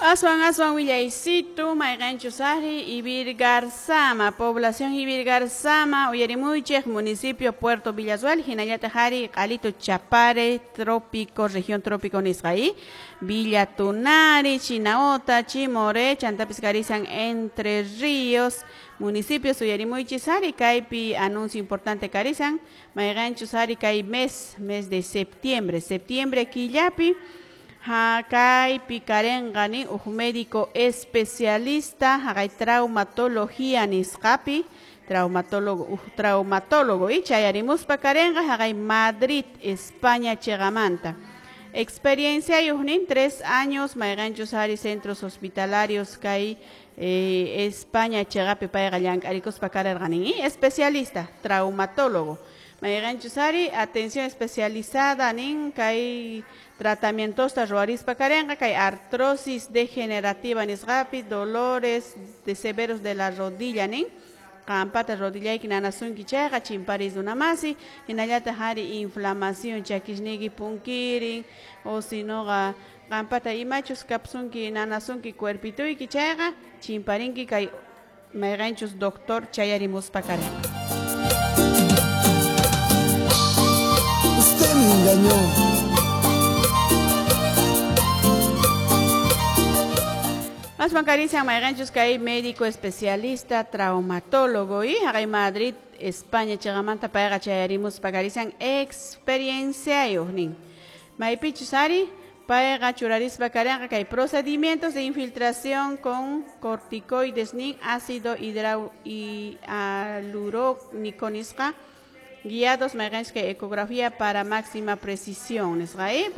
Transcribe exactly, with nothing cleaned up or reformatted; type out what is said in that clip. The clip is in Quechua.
Aswan aswan willaysitu mayqanchus ari Ivirgarzama, población Ivirgarzama, uyarimuychik, municipio Puerto Villazuel, hinallataq ari Qalito Chapare, trópico, región trópico nisqa y Villa Tunari, Chinaota, Chimoré, chantapis karisan Entre Ríos, municipios uyarimuychis ari kaypi anuncio importante karisan, mayqanchus ari kay mes, mes de septiembre, septiembre killapi, kaypi karenqa nin huk médico especialista haqay traumatología nisqapi, traumatólogo, huk traumatólogo y chayarimuspa karenqa haqay Madrid, España chiqamanta. Experiencia nin tres años mayqanchus ari centros hospitalarios kay eh, España chiqapi payqa llank'arikuspa karerqa nin y especialista traumatólogo. Mayqanchus ari atención especializada nin kay tratamientosta ruwarispa karenqa kay artrosis degenerativa nisqapi, dolores de severos de la rodilla nin qampata rodillayki nanasunki chayqa chimparis runamasi, hinallataq ari inflamación chakisniyki punkirin o sinoqa qampata imachus kapsunki nanasunki cuerpituyki chayqa chimparinki kay mayqanchus doctor chayarimuspa karenqa. Usted me engañó. Aswan karisian mayqanchus kay médico especialista traumatólogo y haqay Madrid, España chiqamanta payqa chayarimuspa karisian experienciayuq nin. Maypichus ari payqa churarispa karenqa kay procedimientos de infiltración con corticoides nin ácido hialurónico nisqa guiados mayqanchus kay ecografía para máxima precisión nisqa, ¿eh?